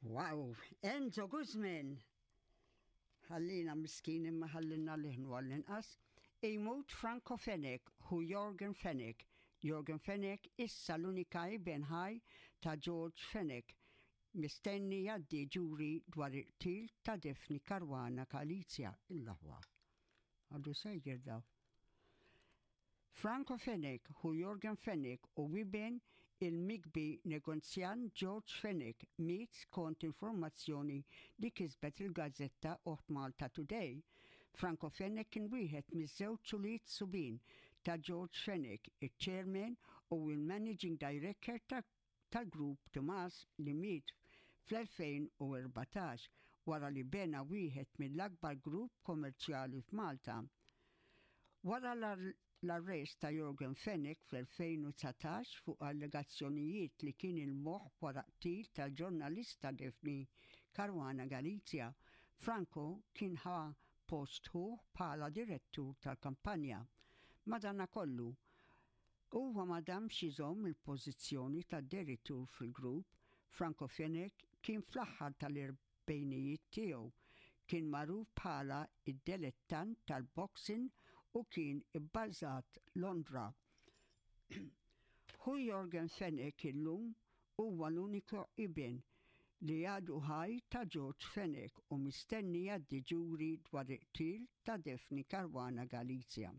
Wow, Enzo Guzman! Ħallina miskin imma ħallina liħnu għall-inqas. Imut Franco Fenech, hu Yorgen Fenech. Yorgen Fenech issa l-unika iben ħaj ta' George Fenech. Mistenni jgħaddi ġuri dwar il-qtil ta' Daphne Caruana Galizia. Il-laħwa. Għadu sejjer daw. Franco Fenech ħu Yorgen Fenech u iben il-mikbi negozjant George Fenech miet skont informazzjoni li kisbet il-gazzetta oħt Malta Today. Franco Fenech kien wieħed miż-żewġ ulied subien ta' George Fenech, iċ-Chairman u l-Managing Director ta' tal-grupp Tumas li miet fl-2014 wara li bena wieħed mill-akbar grupp kommerċjali f'Malta. Wara l-arrest ta' Yorgen Fenech fl-2019 fuq allegazzjonijiet li kien il-moħħ wara qtil tal-ġurnalista Daphne Caruana Galizia, Franco kien ħa post ħuh bħala direttur tal-kampanja. Madanakollu, Huwa ma damx iżomm il-pożizzjoni ta' direttur fil-grupp. Franco Fenech kien fl-aħħar tal-erbgħinijiet tiegħu. Kien magħruf bħala d-delettant tal-boxing u kien ibbażat Londra. Ħu Yorgen Fenech illum huwa l-uniku iben li għadu ħaj ta' George Fenech u mistenni jgħaddi ġuri dwar il-qtil ta' Daphne Caruana Galizia.